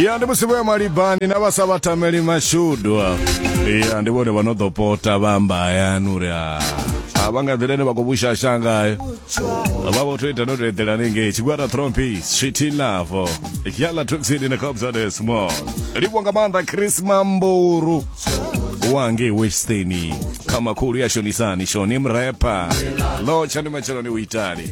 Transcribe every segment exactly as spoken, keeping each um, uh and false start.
Ya ndi musi vho ya malibani na vha sa vha tameli mashudu. Ya ndi vhone vha no ḓo pota vha amba hayani uri a a vha nga nḓila ine vha khou vhushasha ngayo. Vha vho to ita no to eḓela hanengei. Tshigwada Trompies, Sweet Love, Yala Tuxini na Cobza the Small. Livhuwa nga maanḓa Chris Mamburu wange Westeni kha makhulu ya shonisani shoni mrepa lotsha ndi matsheloni u itani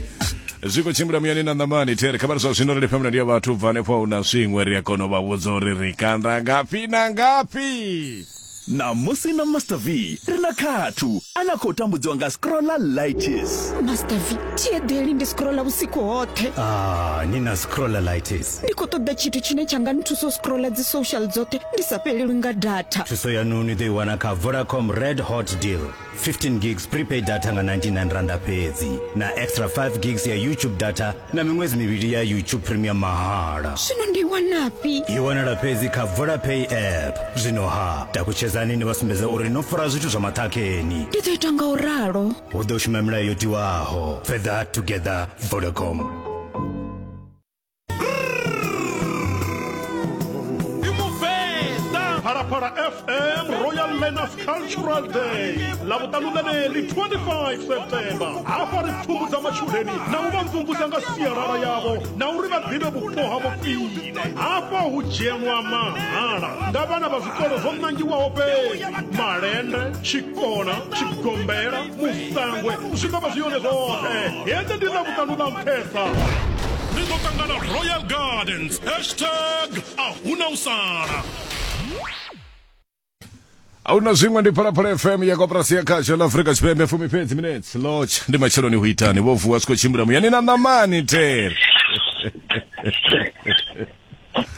zwi khou tshimbila muyani na ṋamani there kha vha zwa zwino ri lifha ndi ya vhathu bva hanefho na zwiṅwe ri a kona u vha vhudza uri ri kanda ngafhi na ngafhi. Ṋamusi na Master V ri na khathu ane a khou tambudziwa nga scrollalitis. Master V, thi eḓeli ndi scrolla vhusiku hoṱhe. Ah, ni na scrollalitis. Ndi khou ṱoḓa tshithu tshine tsha nga nthusa u scrolla dzi social dzoṱhe ndi sa fhelelwi nga data. Thuso yanu ni ḓo i wana kha Vodacom Red Hot Deal. fifteen gigs prepaid data nga ninety-nine randa fhedzi na extra five gigs ya YouTube data na miṅwedzi mivhili ya YouTube Premium mahala. Zwino ndi wanafhi? I wanala fhedzi kha Vodapay app. Zwino ha takutshedzani ni vha sumbedza uri no fara zwithu zwa maṱhakheni. Ndi ḓo ita nga u ralo. Hu ḓo shuma milayo yo tiwaho. Further together, Vodacom. Phalaphala F M Royal Learners Cultural Day Ḽavhuṱanu ḽeneḽi twenty-five September hafha ri pfumbudza matshudeni na u vha mvumvusa nga sialala yavho na uri vha ḓivhe vhupo havho khwine. Hafha hu dzhenwa mahala nga vhana vha zwikolo zwo nangiwaho fhedzi Malende, Tshikona, Tshigombela, Musangwe zwi nga vha zwi yone zwoṱhe. Heḽi ndi Ḽavhuṱanu ḽa nṱhesa. Ri ḓo ṱangana Royal Gardens hashtag a huna u sala. Ahuna zwiṅwe ndi Phalaphala F M ya koporasi ya khasho ḽa Afrika Tshipembe fumi fhedzi minutes lodge ndi matsheloni hu itani vho vuwa zwi khou tshimbila muyani na ṋamani there.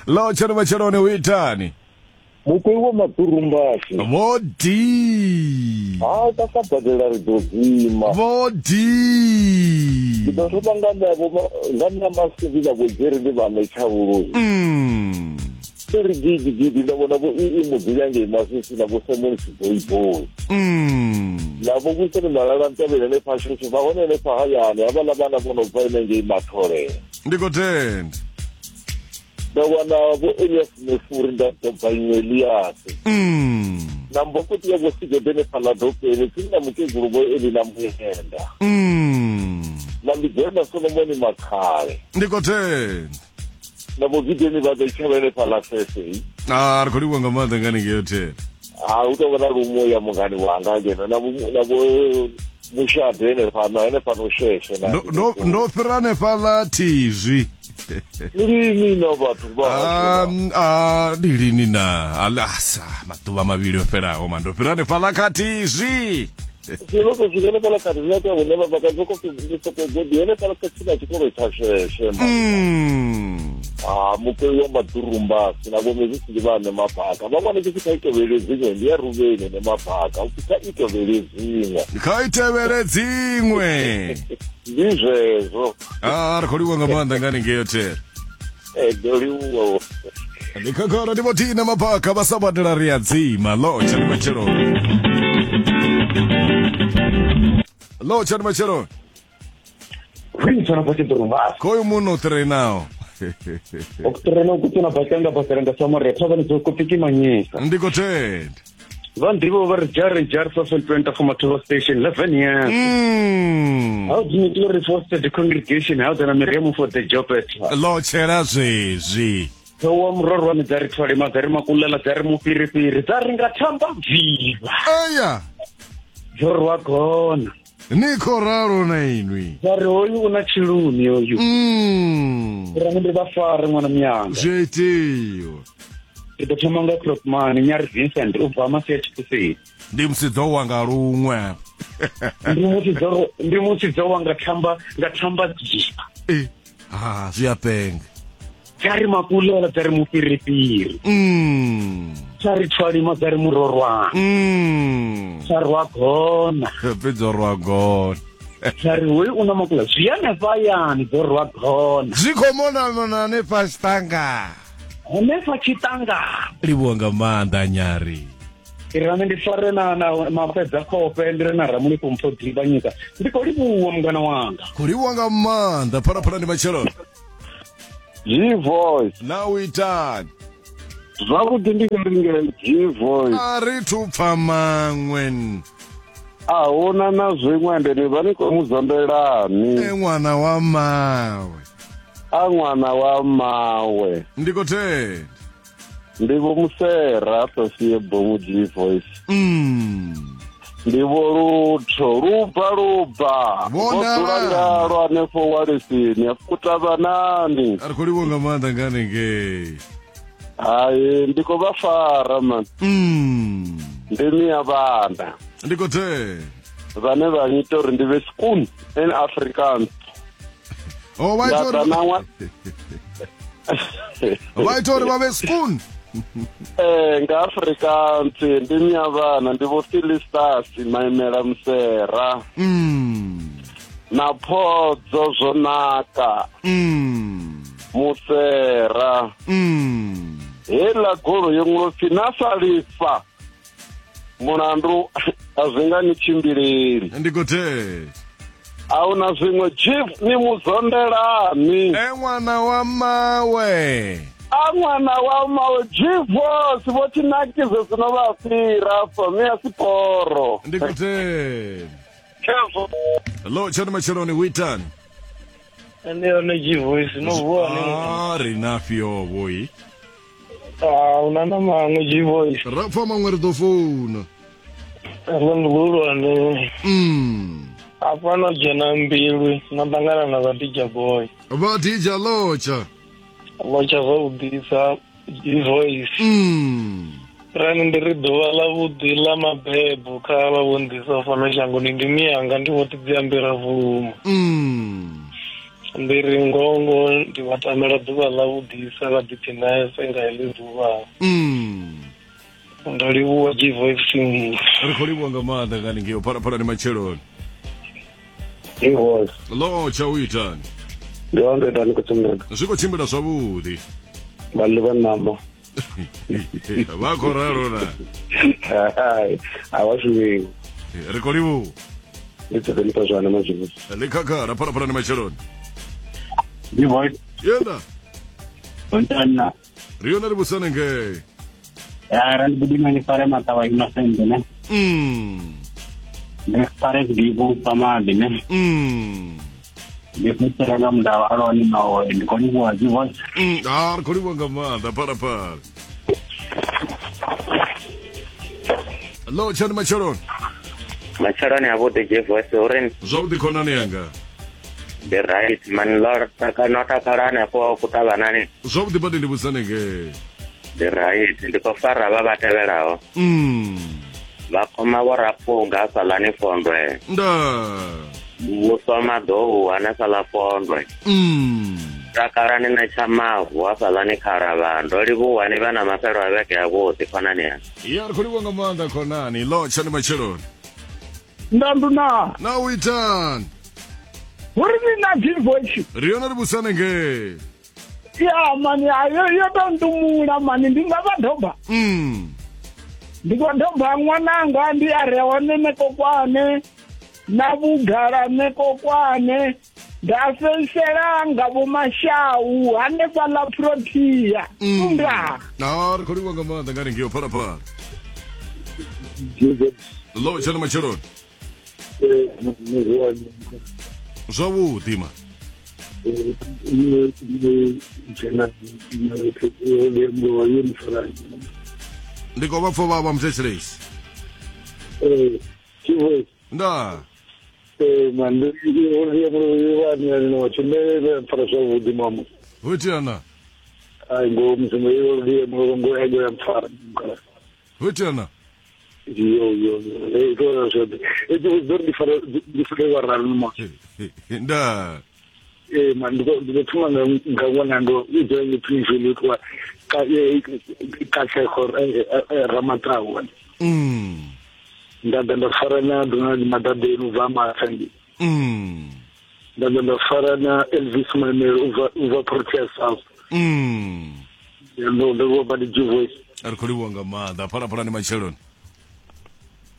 Lodge ndi matsheloni hu itani mukwe wa maḓurumbasi vho di ha ta sa badela ri ḓo dzima vho di ndi ḓo thoma nga nṋe vho nga nṋe masivi na vho Jerry ndi vha ṋetshavhuluzi mm ri gidi gidi nda vhona vho ii mudzula ngei Masisi na vho Simon Siboyboy mm na vho Vuseni Malala Ntavhele hanefha Shosho vha hone hanefha hayani havhaḽa vhana vho no bva henengei Mathole. Ndi khou tenda. Nda wana vho Elias Mefuri nda doba iṅwe Elias mm na mbokoti ya vho Sigede hanefhaḽa Dopeni tsini na mukegulu vho Elina Muyenda mm na Mbidzela Solomoni Makhale. Ndi khou tenda. Na vho Gideni vha ḓo tshavha hanefhaḽa Sese. Ah, ri khou livhuwa nga maanḓa nga haningei hothele. Ha hu tou vha na lumo ya mungani wanga ngeno na vho na vho Mushade henefhano henefhano Sheshe na Ndo ndo ndo fhira hanefhaḽa thizwi. Ndi lini na vhathu vha Ah, ah, ndi lini na alasa maḓuvha mavhili o fhelaho ma ndo fhira hanefhaḽa kha thizwi. Zwino to swika hanefhaḽa kha thizwi ya hune vha bva ka soko ndi soko godi hanefhaḽa kha tsini na tshikolo tsha Sheshe ma. Mm. Ah, mukwe wa maḓurumbasi na vho Mezisi ndi vha Nemabaka vha wane tshi kha itevhele dziṅwe ndi ya Ruveni Nemabaka upfi kha itevhele dziṅwe Kha itevhele dziṅwe. Ndi zwezwo. Ah, ri khou livhuwa nga maanḓa nga haningei hothele. Eh, ndo livhuwa. Ndi khakhala ndi vho Tina Mabaka vha sa badela ri a dzima lotsha ndi matsheloni. Lotsha ndi matsheloni. Khwintsana bva tshiḓurumbasi. Khoyu muno ṱirenaho. Okutirela ukutsina bacanga baserenga samore thavani dzo kupikimanyisa. Ndi khou tenda. Vha nḓivho vha ri jari jari seven twenty for Mathobo station eleven years. Mm. How do you glory for the congregation how dana Miriam for the job at. Lotshela zwezwi. Wa murorwane dza ri thwalima dza ri makulela dza ri mufhirifhiri dza ri nga thamba viva. Aya. Dzo rwa gona. Ni khou ralo na inwi. Dza ri hoyu u na tshilumi hoyu. Mm. Ri ndi vha fare ṅwana miyanga. Zwi itiwa. Ndi ḓo thoma nga Cropman Nyari Vincent u bva Masia Tshikuseni. Ndi musidzo wanga luṅwe. Ndi musidzo ndi musidzo wanga thamba nga thamba dziva. Eh. Ah, zwi a penga. Dza ri makulela dza ri mufhirifhiri. Mm. Dza ri thwalima dza ri murorwana. Mm. Dza rwa gona. Fhedzi rwa gona. Dza ri hoyu u na makula zwi hanefha hayani dzo rwa gona. Zwi khou mona mona hanefha tshiṱanga. Hanefha tshiṱanga. Livhuwa nga maanḓa Nyari. Ri ndi fare na na mafhedza khofhe ndi re na Ramulifho Mpho Divhanyika. Ndi khou livhuwa mungana wanga. Khou livhuwa nga maanḓa. Phalaphala ndi matsheloni. G voice. Na u itani? Zwavhuḓi ndi nge G-Voice. A ri thu pfa maṅwe. A huna na zwiṅwe ende ni vha ni khou mu zambelani. E ṅwana wa mawe. A ṅwana wa mawe. Ndi khou tenda. Ndi vho Musera Sophia Bomu G-Voice. Mm. Ndi vho Lutho luba luba. Vho Vho dzula ngalo hanefho Walisini afukutavhanani. A ri khou livhuwa nga maanḓa nga hanengei. Hai ndi khou vha fara man. Mm. Ndi mia vhana. Ndi khou tenda. Vhane vha ngita uri ndi vhe skoon in Afrikaans. Oh, vha ita uri vha ita uri vha vhe skoon. Eh nga Afrikaans ndi mia vhana ndi vho Philistas Maimela Musera. Mm. Na Phodzo Zwonaka. Mm. Musera. Mm. Hela golo yo ngopfi na salifa. Mulandu a zwi nga ni tshimbileli. Ndi khou tenda. A huna zwiṅwe chief ni muzondelani. E ṅwana wa mawe. A ṅwana wa mawe G-Voice vho tshinakise zwino vha fhira afho mi a siporo. Ndi khou tenda. Khezwo. Hello, tshone matsheloni witani. Ndi yone G-Voice no vuwa ni. Ah, ri na fhio vhoi. Ah, una na maṅwe G-Voice. Ra pfa maṅwe ri ḓo founa. Ndo ndihulwane. Mm. Afha no dzhena mbilu na ṱangana na vha D J Boy. Vha D J Lotsha. Lotsha zwavhuḓisa G-Voice. Mm. Rani ndi ri ḓuvha ḽa vhuḓi ḽa mabebo kha vha vho nḓisa fhano shangoni ndi miyanga ndi vho ḓi ambela vhuluma. Mm. Ndi ri ngongo ndi vha tamela ḓuvha ḽa vhuḓisa vha ḓiphinese nga heḽi ḓuvha. Mm. Ndo livhuwa G-Voice. Ri khou livhuwa nga maanḓa nga haningei phalaphala ni matsheloni. G-Voice. Lotsha u itani? Ndi wa ndo itani khou tshimbila. Zwi khou tshimbila zwavhuḓi. Vha ḽi vha ṋama. Vha khou ralo na. Hai, a vha shumiwi. Ri khou livhuwa. Ndi ṱoḓa ni zwana mazwifu. Ḽi khakhala phalaphala ni matsheloni. G-Voice. Yenda. Ontana. Ri yone ri vhusane ngei. Ya ra ndi budima ni fare matawa innocent ne. Mm. Ndi fare dibu pamadi ne. Mm. Ndi fetela nga mndawa aloni nawo ndi khou livhuwa G-Voice. Mm, ah, ri khou livhuwa nga maanḓa phalaphala. Hello, tshani matsheloni. Matsheloni avhuḓi G-Voice uri zwavhuḓi khonani yanga. Ndi right man lord no takala hanefho kutavhanani. Zwavhuḓi badi ndi vhusane ngei. Ndi right ndi khou fara vha vha tevhelaho. Mm. Vha khoma vho Rapunga hafhaḽani Fondwe. Nda. Muvhuso Maḓou hanefhaḽa Fondwe. Mm. Takalani na Tshamavu hafhaḽani Kharavha. Ndo livhuwa ni vha na mafhelo a vhege avhuḓi khonani yanga. Ya ri khou livhuwa nga maanḓa khonani. Lotsha ni matsheloni. Ndandu na. Na u itani? Uri ni na G-Voice. Ri yone ri vhusane ngei. Ya mani ayo yo to ntumula mani ndi nga vha doba. Mm. Ndi khou doba ṅwananga ndi a re hone Nekokwane na vhugala Nekokwane nda fhedzisela nga vho Mashau hanefhaḽa Protea. Nda. Na ri khou livhuwa nga maanḓa nga hanengei phalaphala. Lotsha ni matsheloni. Zwavhuḓi ma. Ndi khou vha pfa vha vha muthetshelesi. Nda. Ho itea na? Ho itea na? Yo yo yo Nda. Eh man ndi ndi thoma nga nga ṅwana ndo i ḓo ni phinzhele kwa ka ka ka Ramatau. Mm. Nda ḓa nda fara na Donald Madadeni u bva Mathangi. Mm. Nda ḓa nda fara na Elvis Maimela u bva u bva Protea South. Mm. Ndo ndo vho badi G-Voice. A ri khou livhuwa nga maanḓa phalaphala ni matsheloni.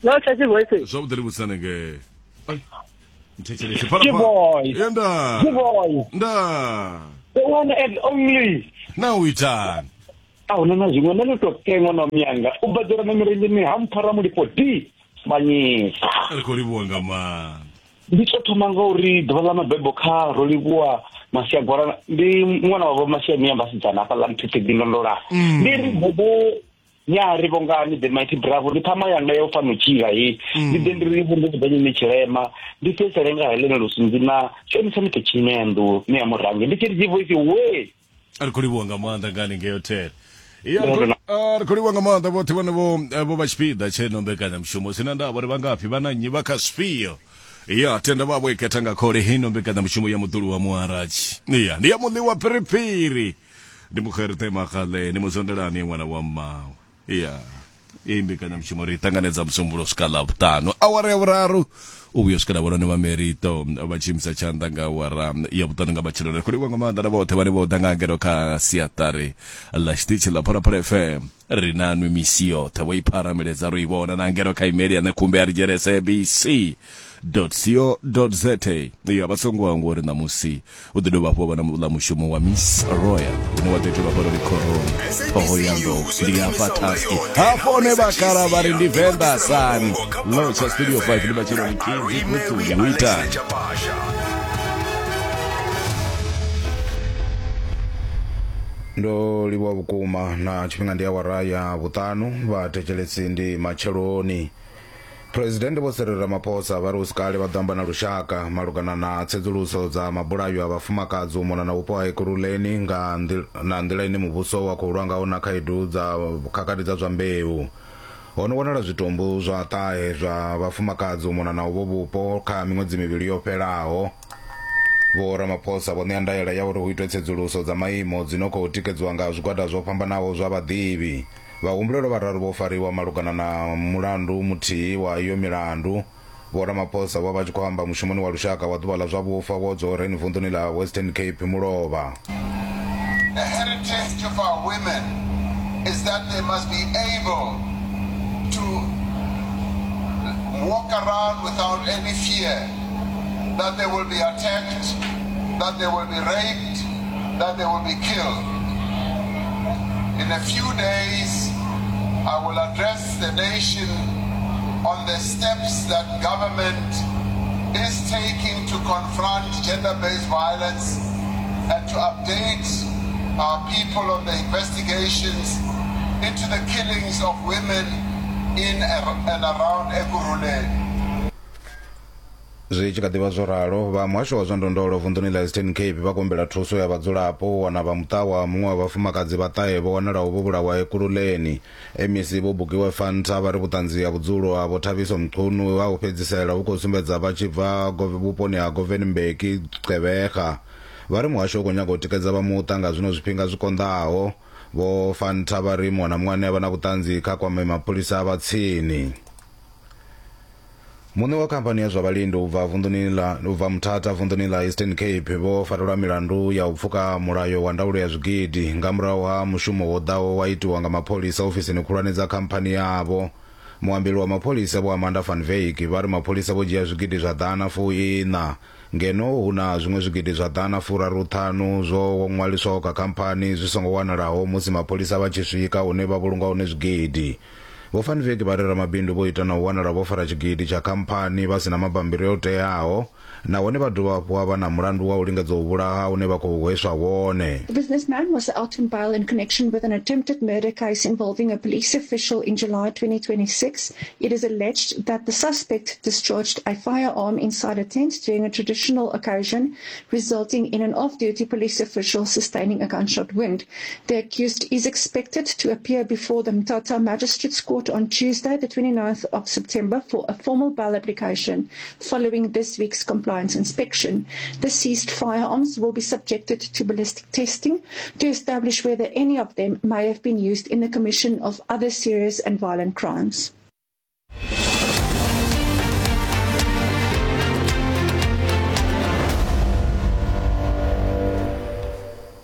Lotsha G-Voice. Zwavhuḓi ri vhusane ngei. Ai. G-Voice. Yenda. G-Voice. Nda. The one and only. Na u itani? A huna na zwiṅwe nṋe ndo to kengwa na miyanga u badela na milenzheni ha mpfara mulifho d manyisa. Ri khou livhuwa nga maanḓa. Ndi to thoma nga uri ḓuvha ḽa mabebo kha ro livhuwa Masiagwala, ndi ṅwana wa vho Masiamia vhasidzana hafhaḽa Mphephe Ndondola. Ndi ri bobo nyari vhongani the mighty bravo, ndi ṱhama yanga ya u fana u tshila he. Ndi ḓe ndi ri vhungu vhuḓanyini tshilema, ndi fhedzisele nga Helena Lusunzi na Shonisa Muthe Tshinendu ni ya murangi. Ndi tshi ri voice we. Ri khou livhuwa nga maanḓa nga haningei hotel. Ya ri khou livhuwa nga maanḓa vhoṱhe vhane vho vho vha tshipiḓa tsheno mbekanyamushumo sina ndavha uri vha ngafhi vha na nnyi vha kha zwifhio. Ya tenda vha vho ikhetha nga khole hino mbekanyamushumo ya muḓulu wa muharatshi. Ya ndi ya muḽi wa phiriphiri. Ndi mukherete magale ni muzondelani ṅwana wa mmawe. Ya iyi mbekanyamushumo ri ṱanganedza musumbulo swika ḽavhuṱanu awara ya vhuraru u vhuya swikela vhone vha Merito vha tshi imisa tshanḓa nga awara ya vhuṱanu nga matsheloni. Ri khou livhuwa nga maanḓa na vhoṱhe vhane vho ḓa nga ngeno kha siaṱari ḽa tshiṱitshi ḽa Phalaphala F M. Ri na nwi misi yoṱhe vho i pharameledza ro i vhona na ngeno kha email ya ṋekhumbe ya ri dzhele S A B C dot co dot za. Ya vha songo hangwa uri ṋamusi u ḓo dovha hafhu wa vha na muḽa mushumo wa Miss Royal une wa ḓo itelwa fhano Likhoroni Thohoyandou. Ndi hafha taski hafho hone vhakala vha ri ndi Venḓa sani Lotsha Studio five ndi matsheloni Kidzi Kutsuli hu itani. Ndo livhuwa vhukuma na tshifhinga ndi awara ya vhuṱanu vha thetshelesi ndi matsheloni. President Vho Cyril Ramaphosa vha ri hu si kale vha ḓo amba na lushaka malugana na tsedzuluso dza mabulayo a vhafumakadzi u mona na vhupo ha Ekurhuleni nga na nḓila ine muvhuso wa khou lwa ngaho na khaedu dza khakhathi dza zwa mbeu. Ho no wanala zwitumbu zwa ṱahe zwa vhafumakadzi u mona na uvho vhupo kha miṅwedzi mivhili yo fhelaho. Vho Ramaphosa vho ṋea ndaela ya uri hu itwe tsedzuluso dza maimo dzi no khou tikedziwa nga zwigwada zwo fhambanaho zwa vhaḓivhi. Vhahumbulelwa vhararu vho fariwa malugana na mulandu muthihi wa iyo milandu. Vho Ramaphosa vho vha tshi khou amba mushumoni wa lushaka wa ḓuvha ḽa zwa vhufa wo Dzoreni vunḓuni ḽa Western Cape mulovha. The heritage of our women is that they must be able to walk around without any fear that they will be attacked, that they will be raped, that they will be killed. In a few days, I will address the nation on the steps that government is taking to confront gender-based violence and to update our people on the investigations into the killings of women in and around Ekurhuleni. Zwi tshi kha ḓivha zwo ralo, vha muhasho wa zwa ndondolo vunḓuni ḽa Eastern Cape vha kumbela thuso ya vhadzulapo u wana vha muṱa wa muṅwe wa vhafumakadzi vha ṱahe vho wanalaho vho vhulawa Ekurhuleni. M E C Vho Bukiwe Fanta vha ri vhuṱanzi ha vhudzulo ha Vho Thabiso Mchunu ha u fhedzisela hu khou sumbedza vha tshi bva vhuponi ha Govan Mbeki Gqeberha. Vha ri muhasho u khou nyaga u tikedza vha muṱa nga zwino zwifhinga zwi konḓaho. Vho Fanta vha ri muṅwe na muṅwe ane a vha na vhuṱanzi kha kwame mapholisa vha tsini. Muṋe wa khamphani ya zwa vhalindi u bva vunḓuni ḽa u bva Mthatha vunḓuni ḽa Eastern Cape vho farelwa milandu ya u pfuka mulayo wa ndaulo ya zwigidi nga murahu ha mushumo wo ḓaho wa itiwa nga mapholisa ofisini khulwane dza khamphani yavho. Muambeli wa mapholisa Vho Amanda van Wyk vha ri mapholisa vho dzhia zwigidi zwa ḓana fu iṋa ngeno hu na zwiṅwe zwigidi zwa ḓana furaru ṱhanu zwo ṅwaliswaho kha khamphani zwi songo wanalaho musi mapholisa vha tshi swika hune vha vhulunga hone zwigidi. Vho Van Wyk vha ri ramabindu vho ita na u wanala vho fara tshigidi tsha khamphani vha sina mabambiri o teaho nahone vha dovha hafhu vha na mulandu wa u lingedza u vhulaha une vha khou hweswa wone. The businessman was out on bail in connection with an attempted murder case involving a police official in July twenty twenty-six. It is alleged that the suspect discharged a firearm inside a tent during a traditional occasion, resulting in an off-duty police official sustaining a gunshot wound. The accused is expected to appear before the Mthatha Magistrates Court on Tuesday, the twenty-ninth of September, for a formal bail application following this week's compliance inspection. The seized firearms will be subjected to ballistic testing to establish whether any of them may have been used in the commission of other serious and violent crimes.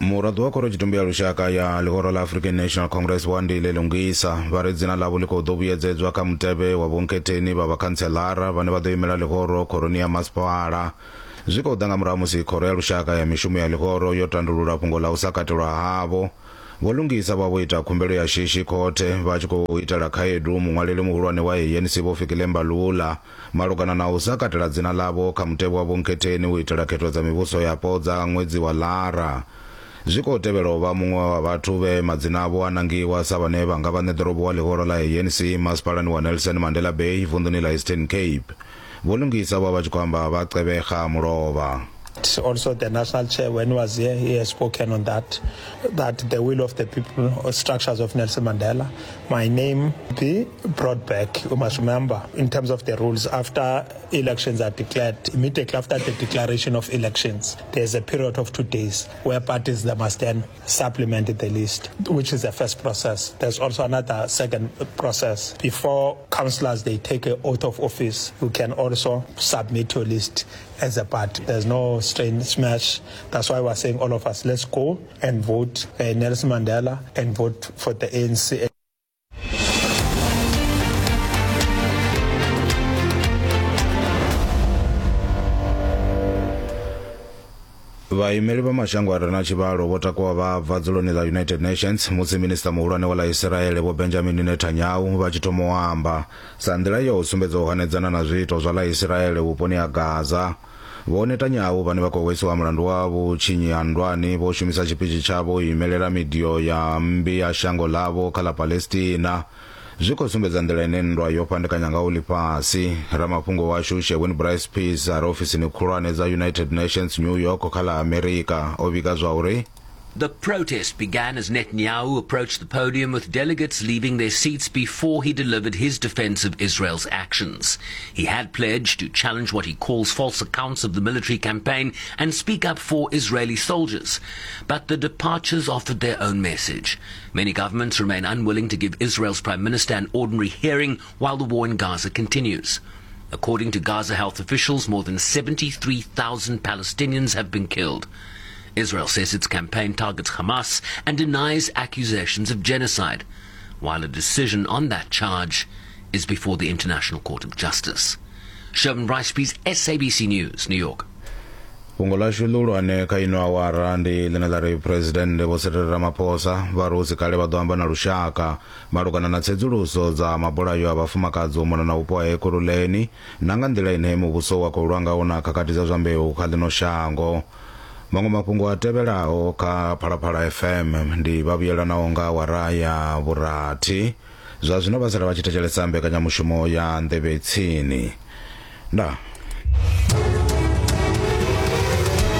Muraḓo wa khorotshitumbe ya lushaka ya ḽihoro ḽa African National Congress Wandile Lungisa vha ri dzina ḽavho ḽi khou ḓo vhuyedzedzwa kha mutevhe wa vhonkhetheni vha vhakhantselara vhane vha ḓo imela ḽihoro khoroni ya masipala. Zwi khou ḓa nga murahu musi khoro ya lushaka ya mishumo ya ḽihoro yo tandulula fhungo ḽa u sa katelwa havho. Vho Lungisa vha vho ita khumbelo ya shishi khothe vha tshi khou itela khaedu muṅwaleli muhulwane wa A N C Vho Fikile Mbalula malugana na u sa katela dzina ḽavho kha mutevhe wa vhonkhetheni u itela khetho dza mivhuso yapo dza ṅwedzi wa Lara. Zwi khou tevhela u vha muṅwe wa vhathu vhe madzina avho a nangiwa sa vhane vha nga vha ṋeḓorobo wa ḽihoro ḽa A N C masipalani wa Nelson Mandela Bay vunḓuni ḽa Eastern Cape. Vho Lungisa vha vha tshi khou amba vha Gqeberha mulovha. Also, the national chair, when he was here, he has spoken on that, that the will of the people or structures of Nelson Mandela, my name be brought back. You must remember, in terms of the rules, after elections are declared, immediately after the declaration of elections, there's a period of two days where parties they must then supplement the list, which is the first process. There's also another second process. Before councillors, they take an oath of office, you can also submit your list as a party. There's no strain smash. That's why we're saying all of us, let's go and vote uh, Nelson Mandela and vote for the A N C. Vhaimeli vha mashango a re na tshivhalo vho takuwa vha bva dzuloni ḽa United Nations musi minista muhulwane wa ḽa Israele Vho Benjamin Netanyahu vha tshi thoma u amba sa nḓila ya u sumbedza u hanedzana na zwiito zwa ḽa Israele vhuponi ha Gaza. Vho Netanyahu vhane vha khou hwesiwa mulandu wa vhutshinyi ha nndwani vho shumisa tshipitshi tshavho u imelela midio ya mmbi ya shango ḽavho kha ḽa Palestina. Zwi khou sumbedza nḓila ine nndwa yo fhandekanya ngaho ḽifhasi. Ramafhungo washu Sherwin Bryce Peace a re ofisini khulwane dza United Nations New York kha ḽa Amerika o vhiga zwa uri The protest began as Netanyahu approached the podium with delegates leaving their seats before he delivered his defense of Israel's actions. He had pledged to challenge what he calls false accounts of the military campaign and speak up for Israeli soldiers. But the departures offered their own message. Many governments remain unwilling to give Israel's prime minister an ordinary hearing while the war in Gaza continues. According to Gaza health officials, more than seventy-three thousand Palestinians have been killed. Israel says its campaign targets Hamas and denies accusations of genocide, while a decision on that charge is before the International Court of Justice. Sherman Bryce, S A B C News, New York. Fhungo ḽashu ḽihulwane kha ino awara ndi ḽine ḽa ri President Vho Cyril Ramaphosa vha ri hu si kale vha ḓo amba na lushaka malugana na tsedzuluso dza mabulayo a vhafumakadzi u mona na vhupo ha Ekurhuleni na nga nḓila ine muvhuso wa khou lwa ngaho na khakhathi dza zwa mbeu kha ḽino shango. Maṅwe mafhungo a tevhelaho kha Phalaphala F M ndi vha vhuyelanaho nga awara ya vhurathi. Zwa zwino vha sala vha tshi thetshelesa mbekanyamushumo ya Nḓevhe Tsini. Ndaa.